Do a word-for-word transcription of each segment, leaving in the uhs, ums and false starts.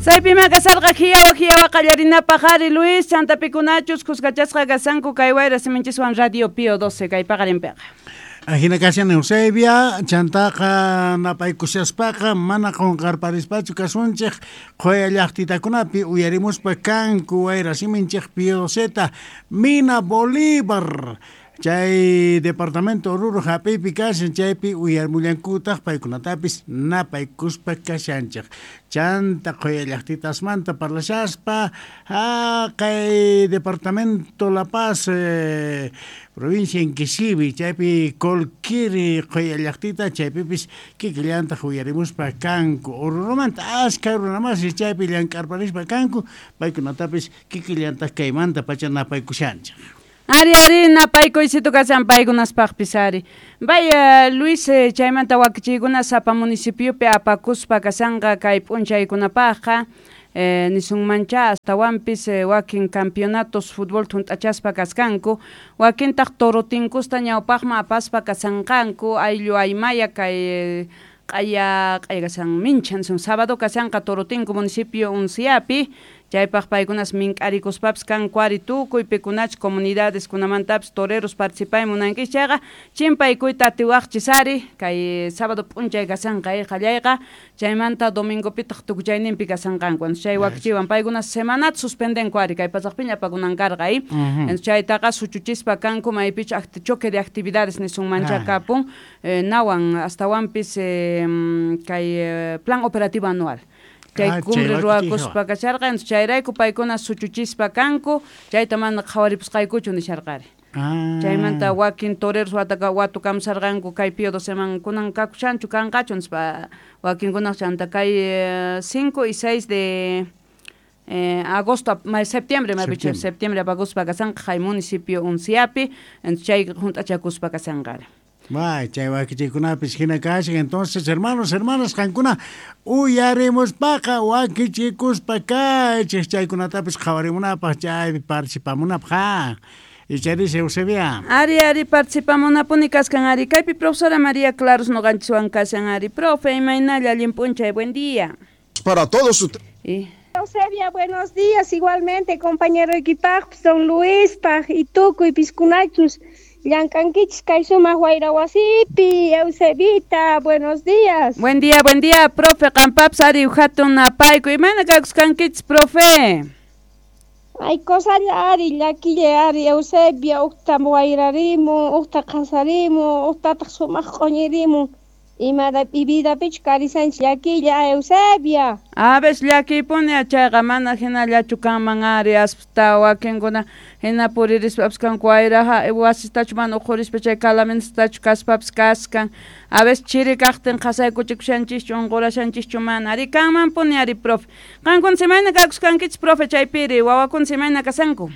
Saypima kasarqa hiyawa hiyawa qallarinapaq ari Luis chantapikunachus kuskachasqa kasanku kay wayra siminchiswan Radio Pío doce kay paqarinpiqa. Ajina kashan Eusebia, chantaqa napaykushaspaqa mana qunqarparispachu kasunchik qhuya llaqtitakunapi uyarimuspa kanku wayra siminchik Pío doceta Mina Bolívar. Chay departamento Oruro hap'ipi kashan chaypi uyarimullankutaq paykunatapis napaykuspa kashanchik. Chanta qhuya llaqtitasmanta parlashaspa kay departamento La Paz eh, provincia Inquisivi chaypi Colquiri qhuya llaqtita chaypipis kikillantaq uyarimuspa kanku Oruromanta askha runamasi chaypi llank'arparispa kanku paykunatapis kikillantaq kaymanta pacha napaykushanchik. Ari, ari, napaykuysito kashan paykunaspaqpis ari. Vaya, Luis, chaymanta wakichiykuna sapa municipiopi apakuspa kashanqa kay p'unchaykunapaqqa eh, nisunmancha astawanpis eh, wakin campeonatos fútbol thunt'achaspa kaskanku wakintaq torotinkusta ñawpaqman apaspa kashanqanku ayllu aymaya kay eh, q'aya q'aya kashan minchan sun sábado kashanqa Torotinku municipio Unciapi chaypaq paykunas mink'arikuspapis kanku ari tukuy pikunach comunidades kunamantapis toreros participay munankichis chayqa chimpaykuyta atiwaqchis ari kay sábado p'unchay kashanqa qallayqa chaymanta domingopitaq tukuchayninpi kashanqanku chay wakichiwan paykunas semanata suspendenku ari kay pasaqpiña apakunan karqa ay chaytaqa suchuchispa kanku maypichu choque de actividades nisunmancha kapun eh, nawan astawanpis eh, kay eh, plan operativo anual chay cumbre ruwakuspa kasharqa chayrayku paykuna suchuchispa kanku chayta mana qhawaripusqaykuchu nisharqari. Chaymanta wakin toreros wataka watukamsarqanku kay Pío doceman kunan kakushanchu kanqachu nispa wakinkunaq chanta kay cinco y seis de eh, agosto, septiembre, septiembre, septiembre apakuspa kasanqa kay municipio Unciapi chay hunt'achakuspa kasanqari. Bay, chay wakichikunapis hina kashan. Entonces, hermanos, hermanas, qankuna uyarimuspaqa wakichikuspa kaychik chaykunatapis qhawarimunapaq chaypi participamunapaq. Icharis Eusebia. Ari, ari, participamunapuni kaskan ari. Kaypi profesora María Claros noqanchiswan kashan ari. Profe, imaynalla allin p'unchay, buen día. Para todos ustedes. Y... Eusebia, buenos días. Igualmente, compañero equipaj, don Luis, paj, y tukuy piskunachus. Llankankichis kay sumaq wayra wasipi, Eusebita, buenos días. Buen día, buen día, profe. Qampapas ari hatun napayku. Imayna kakusqankichis, profe? Ay, kosalla ari, llakilla ari, Eusebia, uqta wayrarimun, uqta qasarimun, uqtataq sumaq q'uñirimun. Imada vidapichu karisanchis llakilla, Eusebia. A veces llakiypuni chayqa mana hinallachu kanman ari aspta wakinkuna hina puririspapas kanku wayraqa wasistachu mana uqhurispa chay calamentastachu kaspapas kaskan. A veces chiri kaqtin qasaykuchikushanchischu unqurashanchischu mana ari kanmanpuni ari profe. Qankuna imayna kakusqankichis profe chaypiri wawakuna imayna kasanku?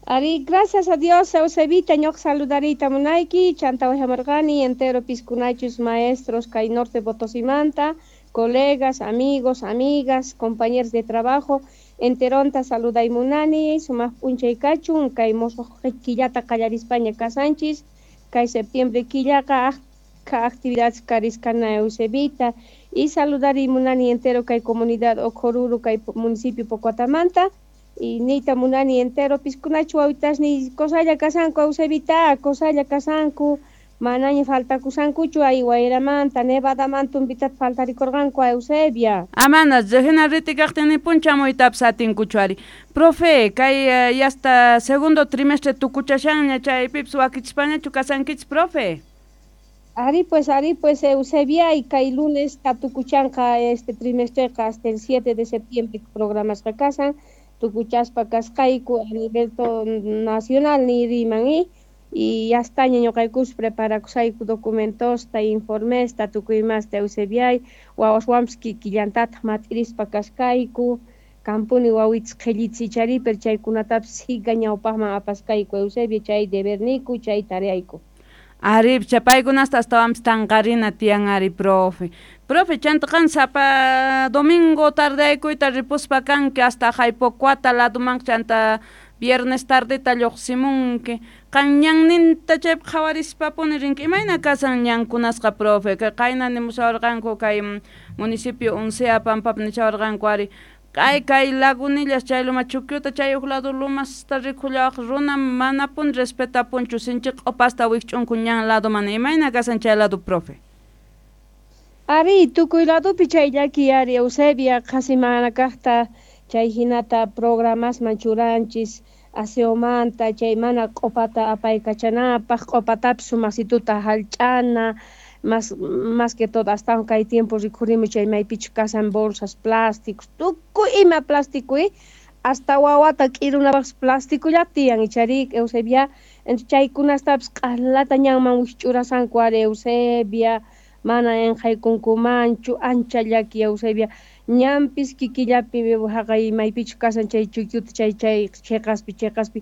Ari, gracias a Dios, Eusebita, ñuqa saludarita munayki, chanta wajamarqani, entero piskunachus maestros kay norte Potosimanta, colegas, amigos, amigas, compañeros de trabajo, enteronta saluday munani, sumaq p'unchay kachun, kay mosuq killata qallarispaña kasanchis, kay septiembre killaqa achka actividades kariskana Eusebita, y saludari munani entero kay comunidad Ocoruro, kay municipio Pocoatamanta, y nita munani entero piskunachu wawitasni kosalla kasanku Eusebita, kosalla kasanku, manaña faltakusankuchu ay wayramanta, nevadamanta umpitata faltarikurqanku Eusebia. Amana, hina ritikaqtin nipuncha muytapas atinkuchu ari. Profe, kay uh, hasta segundo trimestre tukuchashanña chaypipas wakichispañachu kasankichis, profe? Ari pues, ari pues, Eusebia, y kay lunes tukuchanqa este trimestreqa hasta el siete de septiembre programasqa kasan, tukuchaspa kasqayku a nivel nacional ni riman y y ya está ñuqaykus preparakusayku documentosta informesta tukuy imasta Eusebiay wawaswanpis kikillantataq mat'irispa kasqayku kampuni wawitas qhillichichari pero chaykunatapis siga ñawpaqman apasqayku Eusebia chay deberniku chay tareayku. Ari, paykunasta astawanpis tanqarina tiyan ari, profe. Profe, chanta qan sapa domingo tardeaykuyta ripuspa kanki hasta Jaipocuata laduman chanta viernes tardeta lluqsimunki. Qan ñanninta chaypi qhawarispapuni rinki imayna kasan ñankunasqa profe kay qayna nimushawarqanku kay municipio Uncea pampapi nishawarqanku ari kay kay Lagunillas chay loma Chuquiuta chay huk lado lomasta rikullawaq runa manapuni respetapunchu sinchi q'upasta wikch'unku ñan lado mana imayna kasan chay lado profe. Ari tukuy ladopi chay llaki ari Eusebia qhasi mana kaqta chay hinata programasman churanchis aseomanta chay mana q'upata apaykachanapaq q'upatapis sumasituta hallch'ana más más que todo hasta kay tiempo rikhurimu chay maypichu kasan bolsas plásticos tukuy ima plástico hasta wawata k'irunapaqpis plastikullapi tiyan ichari Eusebia chaykunastapis q'alata ñanman wikch'urasanku ari Eusebia mana enqaykunkumanchu ancha llaki Eusebia ñanpis kikillapi haqay maypichu kasan chay Chuquiuta chay chay cheqaspi cheqaspi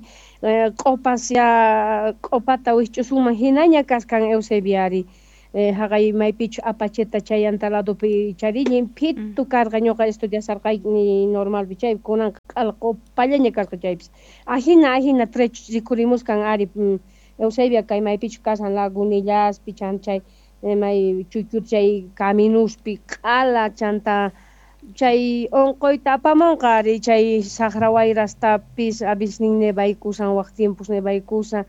q'upas ya q'upata wikch'usunman hinaña kaskan Eusebia ari haqay maypichu Apacheta chayanta ladopi chari llimphitu karqa ñuqa estudiasarqayni normalpi chay kunanqa q'ala q'upallaña kasqa chaypis ajina ajina trecho rikhurimuskan ari Eusebia kay maypichu kasan Lagunillaspi chan chay may Chuquiuta chay caminuspi q'ala chanta chay unquyta apamunqa ari chay saqra wayrastapis avisnin nevaykusan waq tiempos nevaykusan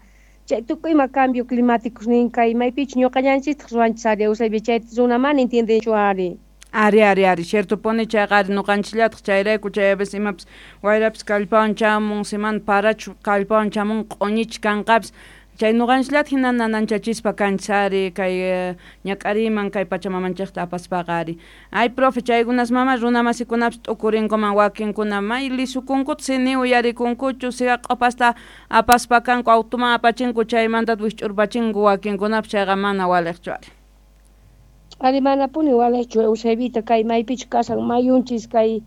chay tukuy ima cambio climáticos nin kay maypichu ñuqallanchistaq ruwanchis ari Eusebia chayta runa mana entiendenchu ari. Ari ari ari ciertopuni chayqa ari ñuqanchisllataq chayrayku chay a veces imapis wayrapis kallpawan chamun semana parachu kallpawan chamun q'uñichi kanqapis chay ñuqanchisllataq hina nananchachispa kanchis ari kay ñak'ariman kay pachamamanchikta apaspaqa ari. Ay profe chaykunas mama runamasikunapis t'ukurinkuman wakinkuna may lisukunkuta si ni uyarikunkuchu siga q'upasta apaspa kanku automan apachinku chaymanta wikch'urpachinku wakinkunapis chayqa mana waliqchu ari. Ari manapuni waliqchu Eusebita kay maypichu kasan mayunchis kay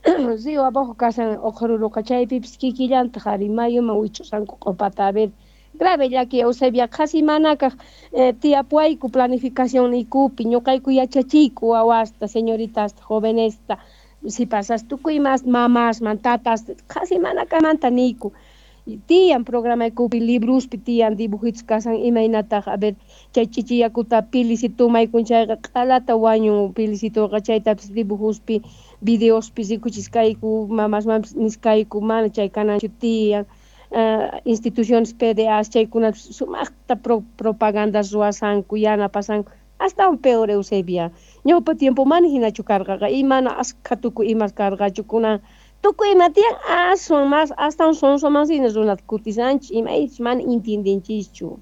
río abajo kasan Oqhururuqa chaypipis kikillantaq ari mayuman wich'usanku q'upata a ver grave llaki Eusebia qhasi manakaq eh, tiyapuwayku planificación niykupi ñuqayku yachachiyku wawasta señoritasta jovenesta sipasas tukuy mas mamasman tatas qhasi manakamanta niyku tiyan programaykupi libruspi tiyan dibujitos kasan imaynataq a ver chay chichi yakuta pilisitu tomaykun chayqa q'alata wañun pilisituqa chaytapis dibujospi videospi rikuchiskayku mamasmanpis niskayku mana chay kananchu tiyan Uh, instituciones P D As chaykunapis sumaqta pro, propagandas ruwasanku yanapasanku astawan peor Eusebia ñawpa tiempo mana hinachu karqaqa y mana askha tukuy imas karqachu kunan tukuy ima tiyan aswan mas astawan sonsomansina runata kutisanchis imaychis mana entiendenchischu.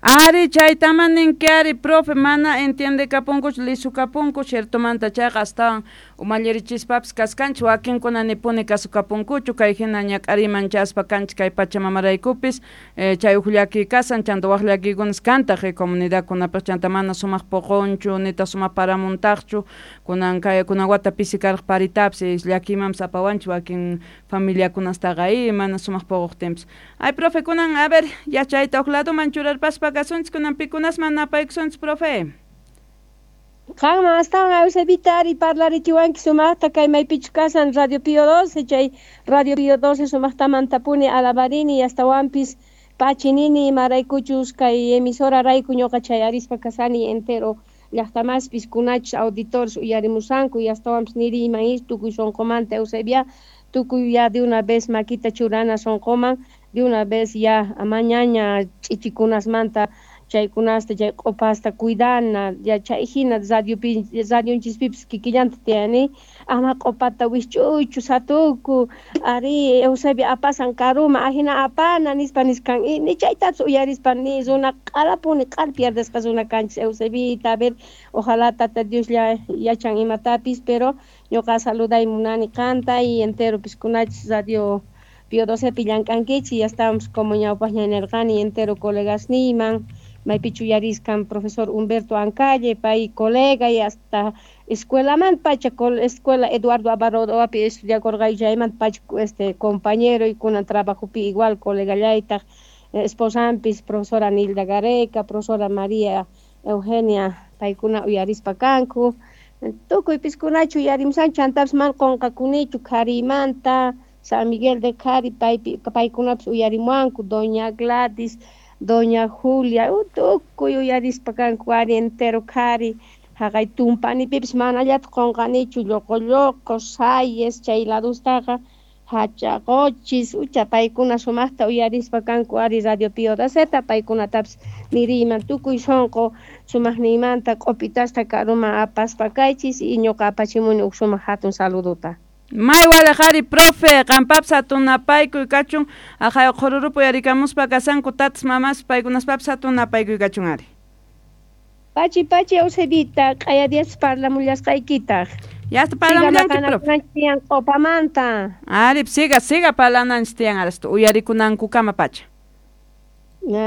Ari chaytaman ninki ari profe mana entiendekapunkuchu lisukapunku ciertomanta chayqa astawan umallirichispapis kaskanchis wakinkuna nipuni kasukapunkuchu kay hina ñak'ariman chaspa kanchis kay pachamamaraykupis eh, chay huk llaki kasan chanta waq llakikunas kantaq eh, comunidadkunapaq chanta mana sumaq poqonchu nitaq sumaq paramuntaqchu kunan kay kunan wata pisi karaq paritapis eh, llakimanpis apawanchis wakin familiakunastaqa y mana sumaq poqoqtinpis. Ay profe kunan a ver yachayta huk ladoman churarpaspa kasunchis kunan pikunasman napaykusunchis profe. Qanman astawan Eusebita ari parlarichiwanki sumaqta kay maypichu kasan Radio Pío doce chay Radio Pío doce sumaqtamantapuni alabarini astawanpis pachinini imaraykuchus kay emisora rayku ñuqa chay arispa kasani entero llaqtamaspis kunachus auditores uyarimusanku y astawanpis niriyman is tukuy sunqumanta Eusebia tukuy ya de una vez makita churana sunquman de una vez ya amañaña ch'ichikunasmanta chaykunasta chay q'upasta cuidana ya chay hina radiopi radionchispipis kikillanta tiyani ama q'upata wikch'uychu satuku ari Eusebia apasan karuma ajina apana nispa niskan y ni chaytapis uyarispa ni runa q'alapuni q'al pierdesqa runa kanchis Eusebita a ver ojalá tata Dios ya yachan imatapis pero ñuqa saluday munani qanta y entero piskunachis radio Pío docepi llank'ankichis ya estamos como ñawpaqña nirqani entero colegasniyman maypichu uyariskan profesor Humberto Ancalle pay colega y hasta escuelamanta pacha escuela Eduardo Abarodoapi estudiakurqay chaymanta pacha este compañero y kunan trabajopi igual colegallaytaq esposanpis profesora Nilda Gareca profesora María Eugenia paykuna uyarispa kanku tukuy piskunachu uyarimusanchu chantapis mana qunqakunichu qharimanta San Miguel de Cari paypi paykunapis uyarimuwanku doña Gladys, doña Julia, tukuy uyarispa kanku ari entero Cari haqay tumpanipipis manallata qunqanichu lloqo lloqo sayes chay ladustaqa hachaqochis ucha paykuna sumaqta uyarispa kanku ari Radio Pío Doceta paykunatapis niriyman tukuy sunqu sumaqniymanta q'upitasta karuman apaspa kaychis y ñuqa apachimuni huk sumaq hatun saludota. May walejari profe, qampapis hatun napaykuy kachun, aqhay qhururupi uyarikamuspa kasanku tatas mamas paykunaspapis hatun napaykuy kachun ari. Pachi pachi Eusebita, q'aya dias parlamullasqaykitaq. Ya está parlamullanki profe. Tiyan q'upamanta. Ari, siga, siga parlananchis tiyan arastu uyarikunankukama pacha.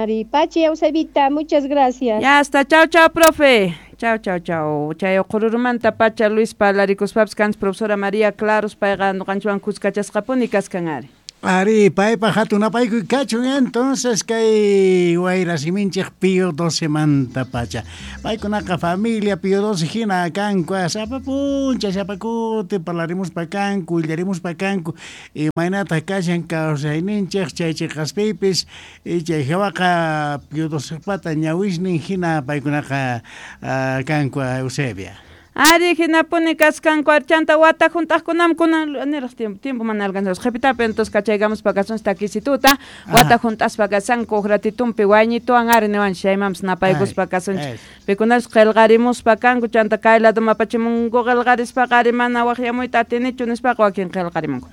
Ari, pachi Eusebita, muchas gracias. Ya está, chao chao profe. Chao, chao, chao. Chay qhururumanta pacha Luis parlarikuspapis kanchis profesora María Claros payqa ñuqanchikwan kuskachasqapuni kaskan ari. Ari, paypa hatun napaykuy kachun entonces kay wayrasiminchik Pío doce manta pacha. Paykunaqa familia Pío doce hina kanku, sapa puncha, sapa kuti, parlarimuspa kanku, willarimuspa kanku, imaynataq kashan kawsayninchik chay chiqaspipis, y chay hawaqa Pío docepata ñawisnin hina paykunaqa uh, kanku Eusebia. Ari hinapuni kaskanku archanta wata juntaqkunam kunan niraq tiempo tiempo mana alcanzamos qhipitapi entonces kachaykamuspa kasunchik takisituta wata juntaspa kasanku huk ratitumpi wayñituwan ari niwanchik chaymanpis napaykuspa kasunchik pikunash qillqarimuspa kanku chanta kay laduma apachimunku qillqarispaqa ari mana waqyamuyta atinichu nispaqa wakin qillqarimunku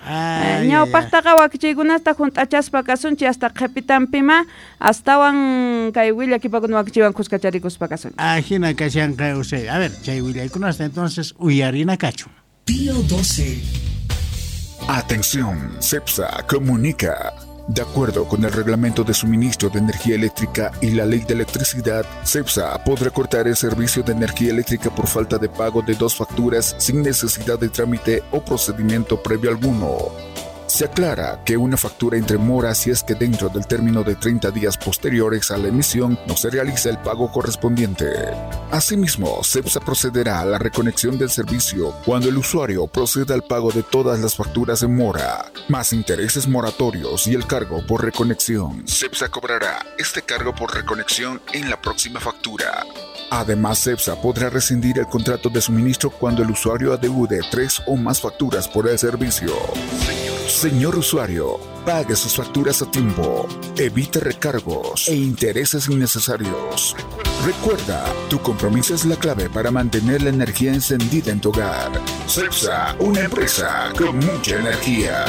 ñawpaqtaqa wakichiykunasta junt'achaspa kasunchik hasta qhipitampima astawan kay willakipakuna wakichiywan kuskacharikuspa kasunchik. Ajina kashanqa Eusebio. A ver, chay willaykunasta entonces uyarina kachu. Pío doce. Atención, CEPSA comunica. De acuerdo con el reglamento de suministro de energía eléctrica y la ley de electricidad, CEPSA podrá cortar el servicio de energía eléctrica por falta de pago de dos facturas sin necesidad de trámite o procedimiento previo alguno. Se aclara que una factura entre mora si es que dentro del término de treinta días posteriores a la emisión no se realiza el pago correspondiente. Asimismo, CEPSA procederá a la reconexión del servicio cuando el usuario proceda al pago de todas las facturas en mora, más intereses moratorios y el cargo por reconexión. CEPSA cobrará este cargo por reconexión en la próxima factura. Además, CEPSA podrá rescindir el contrato de suministro cuando el usuario adeude tres o más facturas por el servicio. Señor usuario, pague sus facturas a tiempo, evite recargos e intereses innecesarios. Recuerda, tu compromiso es la clave para mantener la energía encendida en tu hogar. CEPSA, una empresa con mucha energía.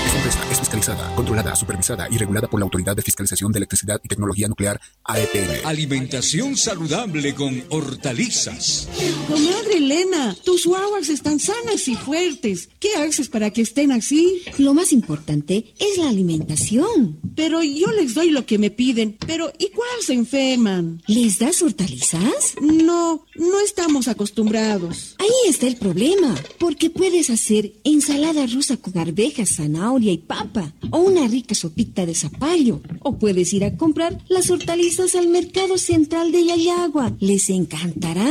Esta empresa es fiscalizada, controlada, supervisada y regulada por la Autoridad de Fiscalización de Electricidad y Tecnología Nuclear, A E P N. Alimentación saludable con hortalizas. Comadre Elena, tus guaguas están sanas y fuertes. ¿Qué haces para que estén así? Lo más importante es la alimentación. Pero yo les doy lo que me piden. Pero igual se enferman. ¿Les das hortalizas? No, no estamos acostumbrados. Ahí está el problema. Porque puedes hacer ensalada rusa con arvejas, zanahoria y papa, o una rica sopita de zapallo, o puedes ir a comprar las hortalizas al mercado central de Llallagua. Les encantará.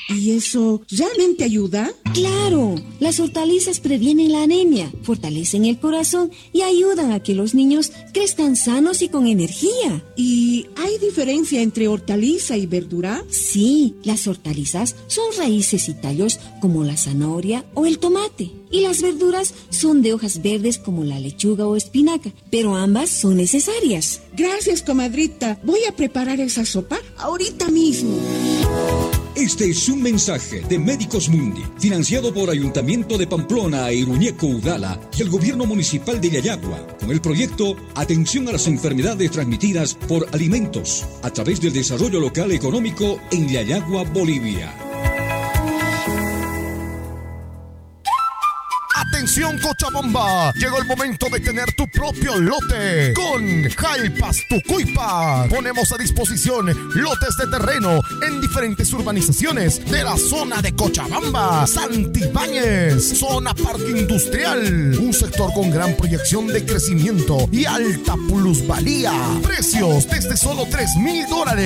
¿Y eso realmente ayuda? ¡Claro! Las hortalizas previenen la anemia, fortalecen el corazón y ayudan a que los niños crezcan sanos y con energía. ¿Y hay diferencia entre hortaliza y verdura? Sí, las hortalizas son raíces y tallos como la zanahoria o el tomate. Y las verduras son de hojas verdes como la lechuga o espinaca, pero ambas son necesarias. Gracias, comadrita. Voy a preparar esa sopa ahorita mismo. Este es un mensaje de Médicos Mundi, financiado por Ayuntamiento de Pamplona e Iruñeco Udala y el Gobierno Municipal de Llallagua, con el proyecto Atención a las Enfermedades Transmitidas por Alimentos, a través del Desarrollo Local Económico en Llallagua, Bolivia. Atención Cochabamba, llegó el momento de tener tu propio lote con Jalpas Tucuypa. Ponemos a disposición lotes de terreno en diferentes urbanizaciones de la zona de Cochabamba, Santibáñez, zona parque industrial, un sector con gran proyección de crecimiento y alta plusvalía. Precios desde solo tres mil dólares.